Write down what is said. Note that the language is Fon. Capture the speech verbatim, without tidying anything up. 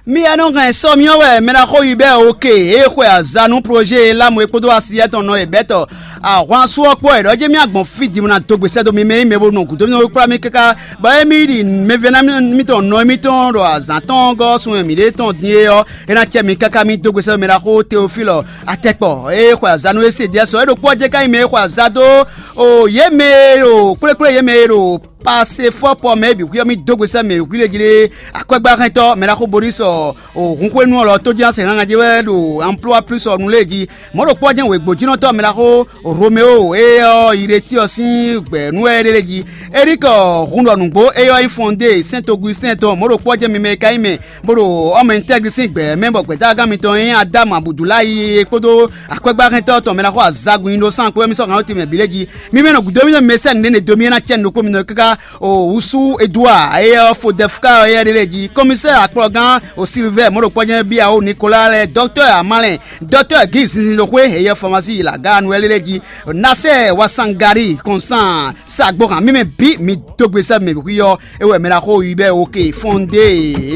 Mi ya nɔ hɛn sɔ myɔ wɛ mɛ ná xo yi bɛ́ oke e xwe aza nú projet e lámù e kpódó asiyɛ tɔn nɔ e bɛ́ tɔ ahwansu ɔ́ kpó wɛ ɖɔ jɛ mì agbɔn fí din bó ná dó gbe sɛ́ dó mi mɛ yi mɛ bó nɔ gǔdo mi kplá mi káká bɔ émí ɖi mɛvɛ́ná mítɔn nɔ émítɔn ɖo azǎn tɔn gɔ́ sun e mǐɖée tɔn din é ɔ́, é ná cɛ mi káká mì dó gbe sɛ́ dó mɛ ná xo Teofílɔ atɛkpɔ e xwe aza nú é se diɛ sɔ é ɖokpó ɔ́ jɛ ká nyí mɛ e xwe aza dó o yě mɛ e ɖo kplékplé yě mɛ e ɖo Pasefɔ́pɔ mɛ e bǐ xwíyɔ́ mì dó gbe sɛ́ mɛ wǐwlí e jí ɖe akwɛ́gbáhɛntɔ́ mɛ ná xo Borísɔ o hunxwénu ɔ́ lɔ tójínasɛn hángan jí wɛ ɖo Amplua Plus ɔ́ nu lée jí. Mɔ̌ ɖokpó ɔ́ jɛ́n wěgbójínɔtɔ́ mɛ ná xo Romeo e ɔ́ yi ɖe tí ɔ́ sín gbɛ̌ nú wɛ ɖé lé jí. Erikɔ hun ɖɔ nǔgbó e ɔ́ nyí Fɔndée Sɛ́n Togusitɛ́n tɔn mɔ̌ ɖokpó ɔ́ jɛ́n mi mɛ e ka nyí mɛ bó ɖo ɔ́ mɛ tɛ́glísín gbɛ̌ mɛ bɔ gbɛ̌tágán mitɔn e nyí Adámu Abudulayi e kpódó akwɛ́gbáhɛntɔ́ tɔn mɛ ná xo azagun nyi ɖó sán kpó wɛ mì sɔ́ hǎn ɔ́ timɛ bǐ lé jí. Mi mɛ nɔ gǔdo mì nɔ mɛsɛ́n nǔɖé ne do mì é ná cɛ nukó mi nɔ káká o wusu Edouard eyɛ ɔ́ Fodɛfka eyɛ ɖé lé jí, kɔmísɛ́ akplɔgán o Silvɛ́ mɔ̌ɖokpɔ́jɛ́n Biawo Nikola lɛ́ɛ, dɔktɔ́ Amalɛn, dɔktɔ́ Gí zinzin ɖo xwé eyɛ famasi Laganu wɛ lé lé jí, Nasɛ Wasangari Kɔnsán sa gbɔhan mímɛ bǐ mi dó gbe sɛ́ mɛ hwí ɔ́, é wɛ mɛ ná xo yi bɛ́ oke fɔ́n ɖe.